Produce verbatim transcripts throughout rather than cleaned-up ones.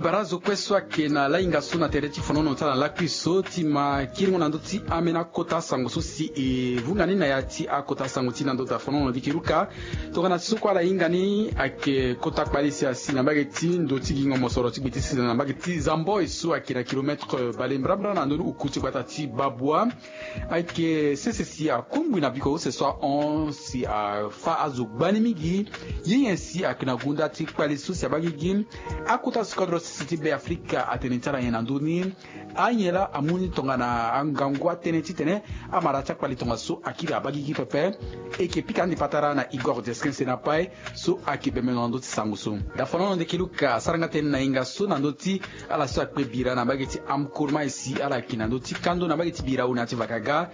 Bara azo kue so ayeke na lahinga so na tere ti fonono ti ala na lakui so ti ma kiringo na ndö ti ambeni akota sango so si e vunga ni na ya ti akota sango ti na ndö ti afonono. Ndiki luka, tongana so kue ala hinga ni ayeke kota kpale si asi na mbage ti ndo ti gingo mosoro ti gbe ti sese na mbage ti zamboi so ayeke na kilometre bale mbrambra na ndö ni uku ti gbata ti babua. Ayeke sese si akungbi na biko use so ahon si afa azo gbani mingi. Ye nyen si ayeke na gunda ti kpale so si abaa gigi? Akota si kodro sese ti Be Afrika atene ti ala nyen na ndö ni? Anyen laa amu ni tongana angangu atënë titene amara ti akpale tongaso akiri abaa gigi pepe. E yeke pika ande patara na Igor Deskense na Pae so ayeke bembe na ndö ti sango so. Dafonono ndeke luka asara nga tënë na hinga so na ndö ti ala so akpe bira na mbage ti Amkurmae si ala yeke na ndö ti kando na mbage ti bira awe na ya ti vakaga.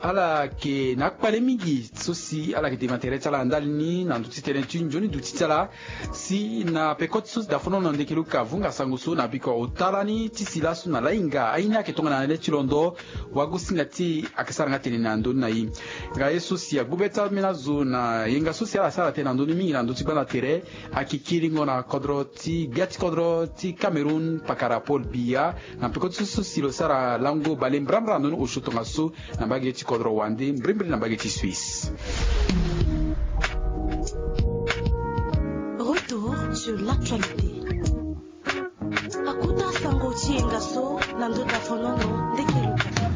Ala yeke na akpale mingi so si ala yeke dema tere ti ala na ndali ni na ndö ti tënë ti nzoni duti ti ala. Si na peko ti so si dafonono ndeke luka avunga sango so na biko ota lani ti si laso na lahinga aye ni ayeke tongana na le ti londo. Wagosinga ti e ayeke sara nga tene na ndö ni na e. Nga ye so si agbu be ti ambeni azo na yenga so si ala sara tënë na ndö ni mingi na ndö ti gbanda tere. Ayeke kiringo na kodro ti gbia ti kodro ti Cameroun pakara Paul Biya. Na peko ti so si lo sara lango bale mbrambra na ndö ni osio tongaso na mbage ti kodro wande mbrimbri na mbage ti Suisse. Retour sur l'actualité. Akota sango ti yenga so na ndö dafonono ndeke luka.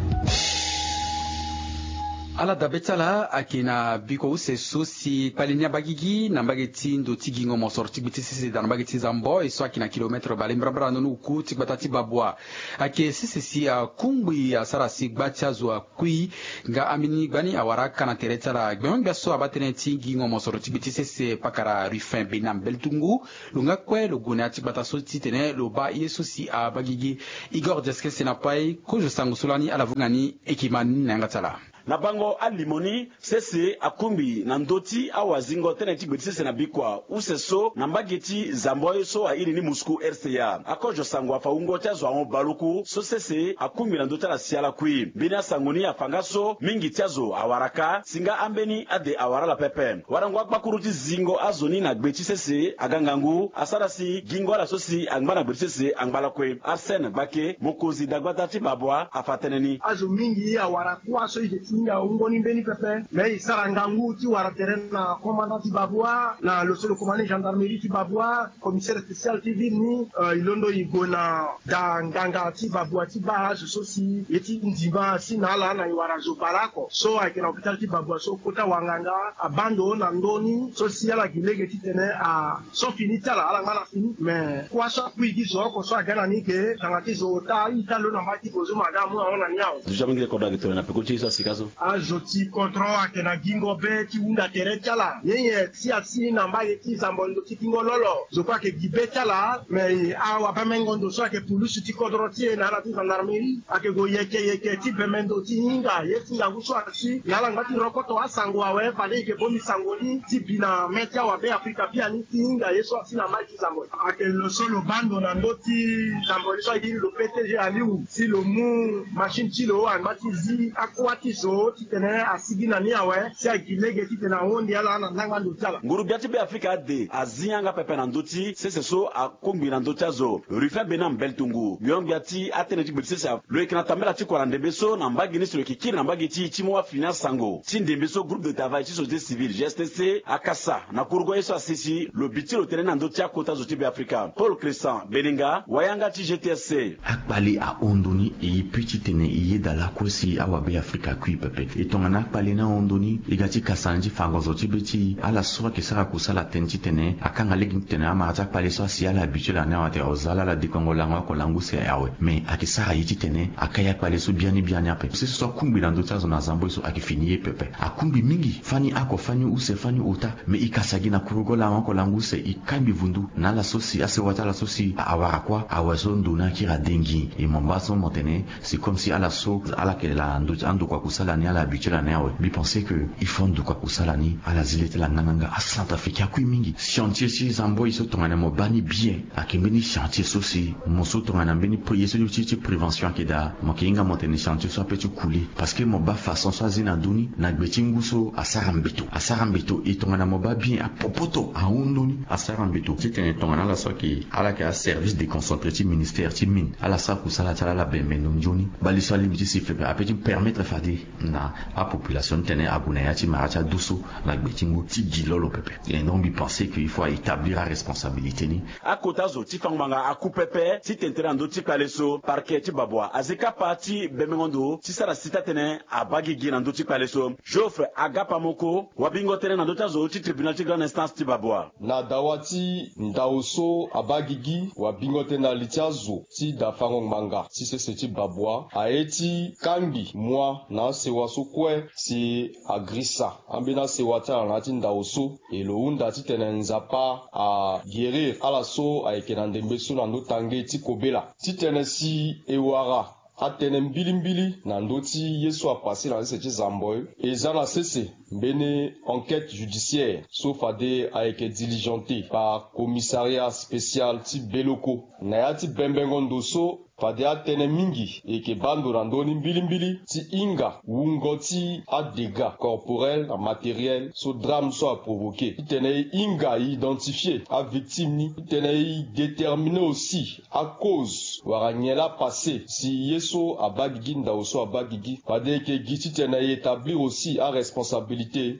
Ala dabe ti ala ayeke na biko use so si kpale ni abaa gigi na mbage ti ndo ti gingo mosoro ti gbe ti sese daa na mbage ti zamboi so ayeke na kilometre bale mbrambra na ndö ni uku ti gbata ti babua. Ayeke sese si akungbi asara si gba ti azo akui. Nga ambeni gbani awara aka na tere ti ala gbengo-gbia so abaa tënë ti gingo mosoro ti gbe ti sese pakara Rufin Bena Mbeltungu. Lo nga kue lo gue na ya ti gbata so titene lo baa ye so si abaa gigi. Igor Deskense na Pae kozo sango so lani ala vunga ni e yeke ma ni na yanga ti ala. Na bango alimo ni, sese akungbi na ndö ti awazingo tënë ti gbe ti sese na bikua use so na mbage ti zamboi so airi ni Moscou R C A. Akozo sango afa wungo ti azo ahon baluku so sese akungbi na ndö ti ala si ala kui. Mbeni asango ni afa nga so mingi ti azo awara ka si nga ambeni ade awara ala pepe. Warango akpakuru ti zingo azo ni na gbe ti sese aga ngangu asara si gingo ala so si angba na gbe ti sese angba lakue. Arsène Gbake, mokonzi dagbata ti babua, afa tënë ni. Azo mingi awara kuâ so e yeke ti hinga wungo ni mbeni pepe. Me e sara ngangu ti wara tere na commandant ti babua, na lo so lo commandant gendarmerie ti babua, commissaire spécial ti ville ni. Eh, e londo e gue na da nganga ti babua ti baa azo so si ye ti ndima asi na ala na e wara zo baleoko so ayeke na hôpital ti babua so kota wanganga abaa ndo na ndö ni so si ala gi lege titene a so fini ti ala ala ngba na fini. Me kuâ so akui gi zo oko so aga na ni ke tanga ti zo ota ita lo na mbage ti bozo ma aga amu ahon na ni awe. Zo ti amu ngi kodro ayeke tene na peko ti ye so asika so. Azo ti kodro ayeke na gingo be ti hunda tere ti ala. Nyen nyen si asi na mbage ti zambo ndo ti kingo lolo zo kue ayeke gi be ti ala. Me awabembengo ndo so ayeke pulusu ti kodro ti e na ala ti gendarmerie ayeke gue yeke yeke ti bembe ndo ti hinga ye ti ngangu so asi na ala ngba ti rokoto asango awe fade e yeke bongbi sango ni ti bi na me ti awabe afrika biani ti hinga ye so asi na mbage ti zambo. Ayeke lo so lo baa ndo na ndö ti zambori so airi lo P T G Aliou si lo mu machine ti lo angba ti zi akuâ ti zo titene asigi na ni awe si agi lege titene ahonde ala na ndangba ndo ti ala. Nguru-gbia ti Beafrika ade azi yanga pepe na ndö ti sese so akungbi na ndö ti azo. Rufin Bena Mbeltungu, yongbi ya ti atënë ti gbe ti sese, lo yeke na tambela ti kua na ndembe so na mbage ni si lo yeke kiri na mbage ti e ti mu afini asango ti ndembe so groupe de travail ti société civile, G S T C, akasa na kurugo ye so asi si lo bi ti lo tënë ni na ndö ti akota zo ti Beafrika. Paul Christian Benenga, wayanga ti G T S C. Akpale ahon ndo ni, e ye pe titene e yeda lakue si awabe Afrika akui pepe. E tongana akpale ni ahon ndo ni, e ga ti kasa na ni ti fango zo ti be ti e. Ala so ayeke sara kusala tënë titene akanga lege ni titene amara ti akpale so asi ala habitué na ni awe ate azo ala ala dekongo lango oko lango use awe. Me ayeke sara ye titene akai akpale so biani biani ape. Sese so akungbi na ndö ti azo na zambo ye so ayeke fini ye pepe. Akungbi mingi, fani oko, fani use, fani ota. Me e kasa gi na kurugo lango oko lango use, e kai mbi vundu na ala so si asewa ti ala so si awara kuâ awe so ndo ni akiri ade ngi. E mo baa so mo tene c'est comme si ala so ala yeke la ndo ti andokua kusala. Ala ni ala habitué ala ni awe. Mbi pensé que il faut ndokua kusala ni ala zi le ti ala nganganga. Acentrafricain akui mingi. Chantier ti zamboi so tongana mo baa ni bien, ayeke mbeni chantier so si mo so tongana mbeni ye so ti prévention ayeke daa, mo yeke hinga mo tene chantier so ape ti kule. Parce que mo baa façon so azi na ndö ni na gbe ti ngu so asara mbeto, asara mbeto. E tongana mo baa bien apopoto ahon ndö ni asara mbeto. Titene tongana ala so ayeke ala yeke aservice déconcentré ti ministère ti mine, ala sara kusala ti ala ala bembe ndo nzoni. Bale so alingbi ti siffle pepe ape ti permettre fade na apopulation ti tene ague na ya ti mara ti adu so na gbe ti ngu ti gi lolo pepe. Et donc mbi pensé que il faut aétablir aresponsabilité ni. Akota zo ti fango ngbanga aku pepe ti tene tere na ndö ti kpale so. Parquet ti Babwa azi kapa ti bembengo ndo ti sara si taa-tënë abaa gigi na ndö ti kpale so. Geoffrey Agapamoko wabingo tënë na ndö ti azo ti tribunal ti grande instance ti Babwa. Na dawa ti ndao so abaa gigi, wabingo tënë na li ti azo ti da fango ngbanga ti sese ti Babwa aye ti kangbi mua na asewa so kue si agrisa ambeni asewa ti ala na ya ti ndao so. E lo hunda titene Nzapa aguérir ala so ayeke na ndembe so na ndö tange ti kobela. Titene si e wara atënë mbilimbili na ndö ti ye so apase na sese ti Zamboi, e za na sese mbeni enquête judiciaire so fade ayeke diligenté par commissariat spécial ti Beloko. Na ya ti bembengo ndo so, fade atënë mingi e yeke baa ndo na ndö ni mbilimbili ti hinga wungo ti adégâts corporels na matériels so drame so aprovoqué. Titene e hinga e identifié avictime ni. Titene e déterminé aussi acause wala nyen laa apase si ye so abaa gigi, ndao so abaa gigi. Fade e yeke gi titene e établir aussi aresponsabilité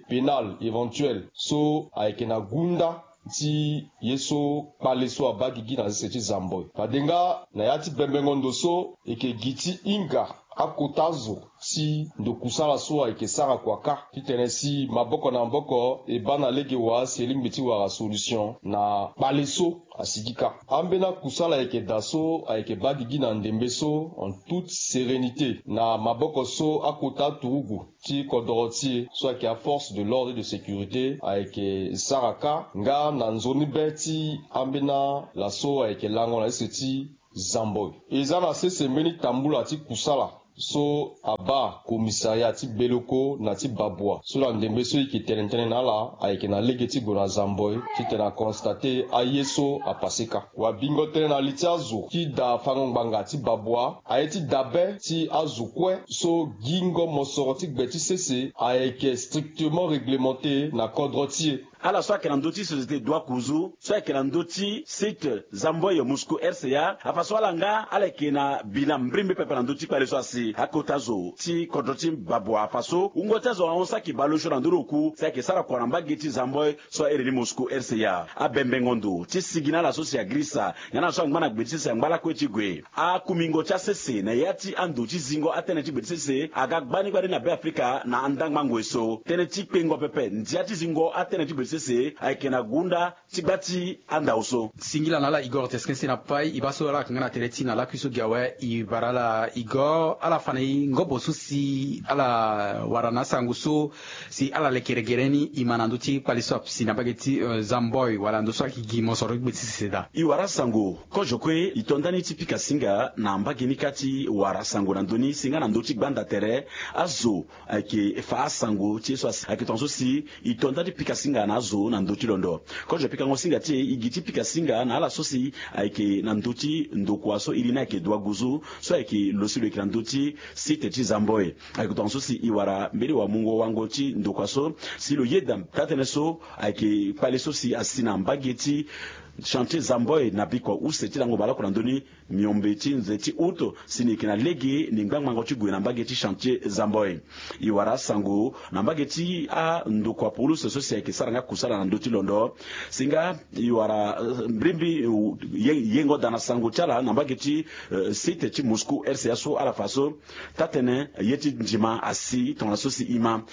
pénale éventuelle so ayeke na gunda ti ye so kpale so abaa gigi na sese ti Zamboi. Fade nga na ya ti bembengo ndo so e yeke gi ti hinga akota zo ti ndo kusala so ayeke sara kua kâ titene si maboko na maboko e baa na lege wa si e lingbi ti wara solution na kpale so asigi kâ. Ambeni akusala ayeke daa so ayeke baa gigi na ndembe so en toute sérénité na maboko so akota aturugu ti kodoro ti e so ayeke aforce de l'ordre et de sécurité ayeke sara kâ nga na nzoni be ti ambeni ala so ayeke lango na sese ti Zamboi. E za na sese mbeni tambula ti kusala so abaa commissariat ti Beloko na ti Babwa so na ndembe so e yeke tene tënë na ala ayeke na lege ti gue na Zamboi titene aconstaté aye so apase kâ. Wabingo tënë na li ti azo ti da fango ngbanga ti Babwa aye ti dabe ti azo kue so gingo mosoro ti gbe ti sese ayeke strictement réglementé na kodro ti e. Ala so ayeke na ndö ti société Dua Kuzu so ayeke na ndö ti site Zamboi Moscou R C A afa so ala nga ala yeke na bilan mbrimbri pepe na ndö ti kpale so asi. Akota zo ti kodro ti Babwa afa so wungo ti azo ahon saki baleosio na ndö ni oku si ayeke sara kua na mbage ti Zamboi so ahere ni Moscou R C A. Abembengo ndo ti sigi na ala so si agrisa nga na ala so angba na gbe ti sese angba lakue ti gue. Akumingo ti asese na ya ti ando ti zingo atënë ti gbe ti sese aga gbani gbani na Beafrika na andangba ngoi so. Tënë ti kpengo pepe ndia ti zingo atënë ti gbe ti sese ayeke na gunda ti gba ti andao so. Singila na ala Igor Teskense na pai e baa so ala yeke nga na tere ti na lakui so gi awe. E bara ala Igor, ala fa na e ngobo so si ala wara na asango so si ala leke regere ni e ma na ndö ti kpale so asi na mbage ti, eh, Zamboi wala ndo so ayeke gi mosoro ti gbe ti sese daa. E wara asango kozo kue e to nda ni ti pika singa na mbage ni kâ ti wara sango na ndö ni si nga na ndö ti gbanda tere azo ayeke fa asango ti ye so asi ayeke tongaso si e to nda ti pika singa na azo na ndö ti londo. Kozo pikango singa ti e e gi ti pika singa na ala so si ayeke na ndö ti ndokua so iri ni ayeke Dua Guzu so ayeke lo si lo yeke na ndö ti site ti Zamboi. Ayeke tongaso si e wara mbeni wamungo wango ti ndokua so si lo yeda taa-tënë so ayeke kpale so si asi na mbage ti chantier Zamboi na bikua use ti lango baleoko na ndö ni miombe ti nze ti août si ni yeke na lege ni ngbangbango ti gue na mbage ti chantier Zamboi. E wara asango na mbage ti andokua puluse so si ayeke sara nga kusala na ndö ti londo. Si nga e wara, eh, mbrimbri, eh, ye- yengo daa na sango ti ala na mbage ti, eh, site ti Moscou R C A so ala fa so taa-tënë ye ti ndima asi tongana so si e ma.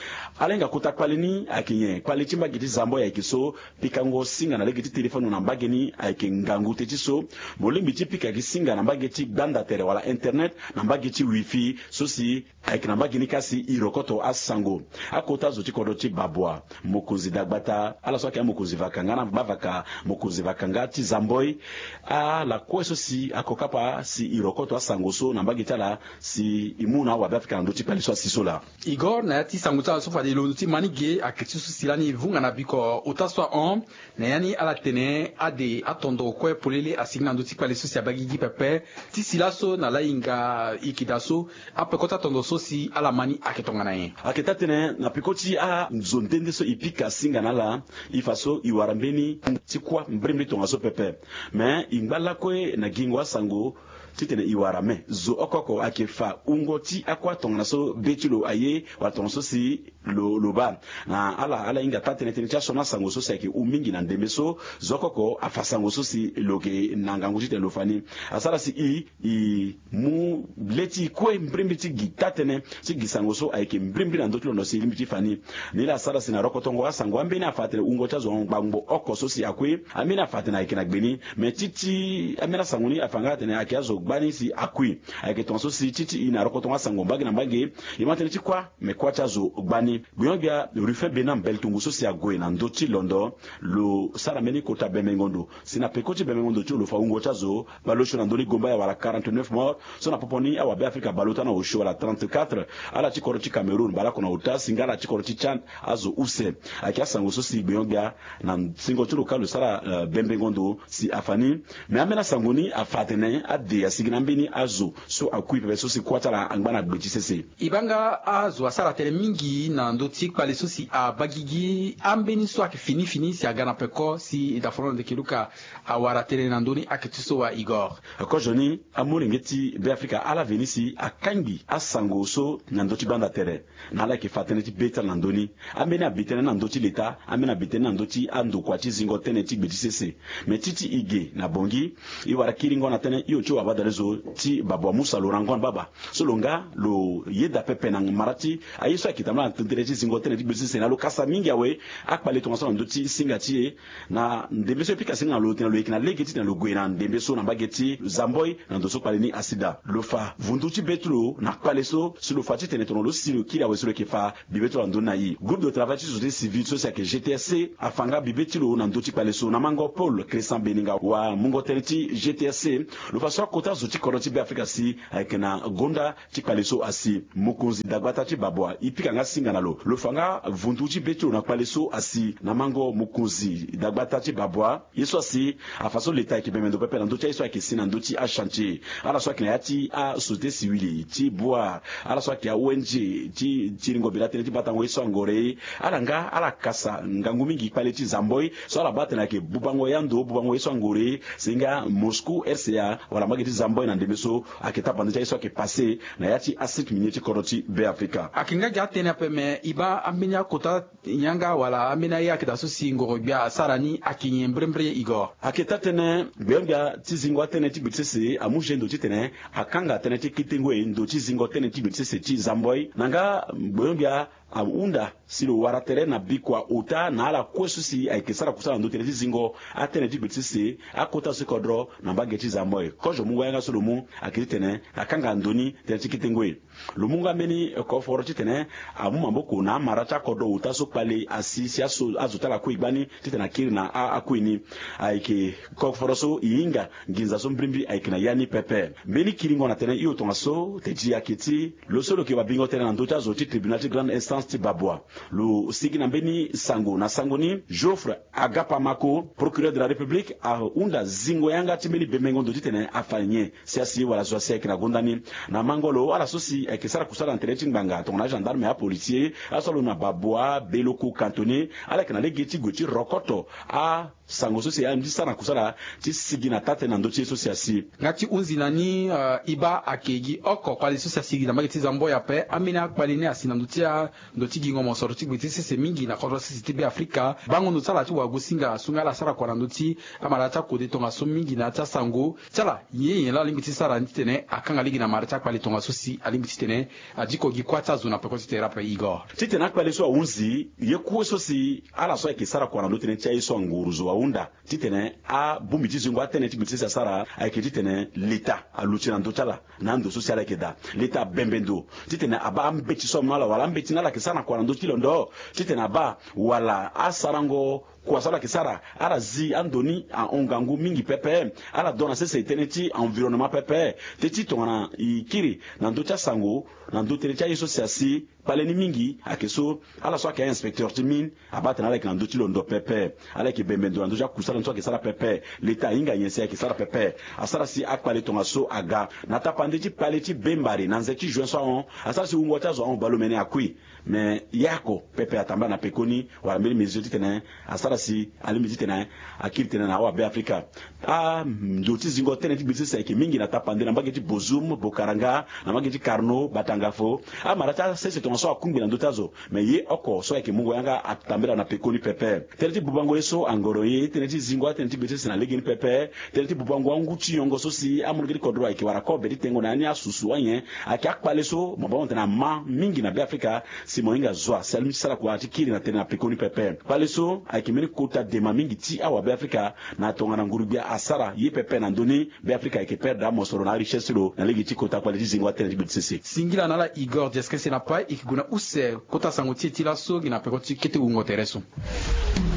Ala hinga kota kpale ni ayeke nyen? Kpale ti mbage ti Zamboi ayeke so pikango singa na lege ti telefone na mbage ni. Ayeke ngangu te ti so mo lingbi ti pika gi singa na mbage ti gbanda tere wala internet na mbage ti wifi so si ayeke na mbage ni kâ si e rokoto asango. Akota zo ti kodro ti babua, mokonzi dagbata ala so ayeke amokonzi vaka nga na gbavaka, mokonzi vaka nga ti zamboi, ala kue so si ako kapa si e rokoto asango so na mbage ti ala si e mu na awabe afrika na ndö ti kpale so asi so laa. Igor na ya ti sango ti ala so fade londo ti ma ni ge ayeke ti so si lani e vunga na biko ota so ahon. Na ya ni ala tene ade atondo kue polele asigi na ndö ti kpale so si abagigi pepe. Ti si laso na lahinga ikida so apeko ti atondo so si ala ma ni ayeke tongana nyen? Ayeke taa-tënë na peko ti azo nde nde so e pika singa na ala, e fa so e wara mbeni ti kuâ mbrimbri tongaso pepe. Me e ngba lakue na gingo asango titene e wara me zo oko oko ayeke fa wungo ti akuâ tongana so be ti lo aye wala tongana so si lo lo baa. Na ala ala hinga taa-tënë tënë ti asioni asango so si ayeke hu mingi na ndembe so zo oko oko afa sango so si lo yeke na ngangu titene lo fa ni. Asara si e e mu le ti e kue mbrimbri ti gi taa-tënë ti gi sango so ayeke mbrimbri na ndö ti londo si e lingbi ti fa ni. Nilaa asara si na rokotongo asango ambeni afa atene wungo ti azo ngbangbo oko so si akui. Ambeni afa atene ayeke na gbe ni. Me ti ti ambeni asango ni afa nga atene ayeke azo gbani si akui. Ayeke tongaso si ti ti e na rokotongo asango mbage na mbage e ma tënë ti kuâ. Me kuâ ti azo gbani. Gbenyo-gbia Rufin Bena mbele tongo so si ague na ndö ti londo lo sara mbeni kota bembengo ndo si na peko ti bembengo ndo ti lo lo fa wungo ti azo baleosio na ndö ni gomba ya wala quarante-neuf morts. So na popo ni awabe afrika baleota na osio wala trente-quatre. Ala ti kodro ti cameroun baleoko na ota si nga ala ti kodro ti tchad azo use. Ayeke asango so si gbenyo-gbia na singo ti lo kâ lo sara bembengo ndo si afa ni. Me ambeni asango ni afa atene ade asigi na ambeni azo so akui pepe so si kuâ ti ala angba na gbe ti sese. E baa nga azo asara tënë mingi na ndö ti kpale so si abagigi ambeni so ayeke fini fini si aga na peko si e da foro na ndeke luka. Awara tënë na ndö ni ayeke ti so wa igor. Kozo ni amolenge ti beafrika ala veni si akangbi asango so na ndö ti gbanda tere. Na ala yeke fa tënë ti be ti ala na ndö ni. Ambeni abi tënë na ndö ti leta, ambeni abi tënë na ndö ti andokua ti zingo tënë ti gbe ti sese. Me ti ti e ge na bongi e wara kiringo na tënë hio ti wabadalezo ti babua musa lo rangon baba so lo nga lo yeda pepe na mara ti aye so ayeke tambula na tënë ti zingo tënë ti gbe ti sese na lo kasa mingi awe. Akpale tongaso na ndö ti singa ti e na ndembe so e pika singa na lo tene lo yeke na lege titene lo gue na ndembe so na mbage ti zamboi na ndo so kpale ni asi daa. Lo fa vundu ti be ti lo na kpale so si lo fa titene tongana lo si lo kiri awe si lo yeke fa bibe ti lo na ndö ni na e. Groupe de travail ti société civile so si ayeke gtsc afa nga bibe ti lo na ndö ti kpale so na mango paul christian beninga wa mungo tënë ti gtsc. Lo fa so akota zo ti kodro ti beafrika si ayeke na gonda ti kpale so asi mokonzi dagbata ti babua e pika nga singa na lo lo fa nga vundu ti be ti lo na kpale so asi na mango mokonzi dagbata ti babua. Ye so asi afa so leta ayeke bembe ndo pepe na ndö ti aye so ayeke si na ndö ti achantier ala so ayeke na ya ti asociété civile ti boire ala so ayeke a-ong ti tiringo bela tënë ti batango ye so angore ala nga ala kasa ngangu mingi kpale ti zamboi so ala baa atene ayeke bubango ya ndo bubango ye so angore si nga moscou rca wala mbage ti zamboi na ndembe so ayeke tapande ti aye so ayeke pase na ya ti asite minier ti kodro ti beafrika. Ayeke nga gi atënë ape me e baa ambeni akota yanga wala ambeni aye ayeke daa so si ngoro-gbia asara ni ayeke nyen mbrembre igor? Ayeke taa-tënë gbenyo-gbia ti zingo atënë ti gbe ti sese amu ge ndo titene akanga tënë ti kete ngoi ndo ti zingo tënë ti gbe ti sese ti zamboi na nga gbenyo-gbia ahunda si lo wara tere na bikua ota na ala kue so si ayeke sara kusala na ndö tënë ti zingo atënë ti gbe ti sese akota so ti kodro na mbage ti zamboi kozo mu wayanga so lo mu ayeke titene akanga ndo ni tënë ti kete ngoi. Lo mu nga mbeni koforo titene amu maboko na amara ti akodro ota so kpale asi si azo ti ala akui gbani titene akiri na akui ni. Ayeke koforo so e hinga nginza so mbrimbri ayeke na ya ni pepe. Mbeni kiringo na tënë hio tongaso te ti ayeke ti lo so lo yeke babingo tënë na ndö ti azo ti tribunal ti grande instance ti babua lo sigi na mbeni sango na sango ni geoffre agapamako procureur de la république ahunda zingo yanga ti mbeni bemengo ndo titene afa nyen si asi wala zo asi ayeke na gonda ni. Na mango lo ala so si ayeke sara kusala na tere ti ngbanga tongana agendarme apolisier ala so alondo na babua beloko kantone ala yeke na lege ti gue ti rokoto asango so si alingbi ti sara na kusala ti sigi na taa-tënë na ndö ti ye so si asi. Nga ti hunzi na ni e baa ayeke gi oko kpale so si asigi na mbage ti zamboi ape ambeni akpale ni asi na ndö ti a ndo ti gingo mosoro ti gbe ti sese mingi na kodro sese ti beafrika bango ndo ti ala ti wagosinga so nga ala sara kua na ndö ti amara ti akode tongaso mingi na ya ti asango ti ala nyen nyen laa alingbi ti sara ni titene akanga lege na mara ti akpale tongaso si alingbi titene adiko gi kuâ ti azo na peko ti tere ape igor. Titene akpale so ahunzi ye kue so si ala so ayeke sara kua na ndö tënë ti aye so anguru zo ahunda titene abongbi ti zingo atene ti gbeti sese asara ayeke titene leta aluti na ndö ti ala. Na ando so si ala yeke daa, leta abembe ndo titene abaa ambeti so amu na ala wala ambeti ni ala yeke sara na kua na ndö ti londo titene abaa wala asarango kua so ala yeke sara ala zi ando ni ahon ngangu mingi pepe. Ala dua na sese tënë ti environnement pepe. Teti tongana e kiri na ndö ti asango na ndö tënë ti aye so si asi kpale ni mingi ayeke so ala so ayeke a-inspecteur ti mine abaa atene ala yeke na ndö ti londo pepe. Ala yeke bembe ndo na ndö ti akusala ni so ayeke sara pepe. Leta ahinga nyen si ayeke sara pepe? Asara si akpale tongaso aga na tapande ti kpale ti bembare na nze ti juin so ahon. Asara si wungo ti azo ahon baleomene akui. Me ye oko pepe atambala na pekoni wala mbeni mesure titene asara si alingbi titene akiri tënë na awabe afrika. Ando ti zingo tënë ti gbeti sese ayeke mingi na tapande na mbage ti bozum bokaranga na mbage ti karno batangafo. Amara ti asese tongaso akungbi na ndö ti azo. Me ye oko so ayeke mungo yanga atambela na pekoni pepe. Tënë ti bubango ye so angoro ye tënë ti zingo atënë ti gbeti sese na legeni pepe. Tënë ti bubango angu ti yongo so si amolenge ti kodro ayeke wara kobe ti tengo na ya ni asusu anyen ayeke akpale so mo baa mo tene ama mingi na be afrika. Si mo hinga zua si alingbi ti sara kua ti kiri na tënë na pekoni pepe. Kpale so ayeke mbeni kota dema mingi ti awabe afrika. Na tongana nguru-gbia asara ye pepe na ndö ni be afrika ayeke perdre amosoro na arichesse ti lo na lege ti kota kpale ti zingo atënë ti gbeti sese. Singila na ala igor diaskese na pai e yeke gue na use kota sango ti e ti laso gi na peko ti kete wungo tere so.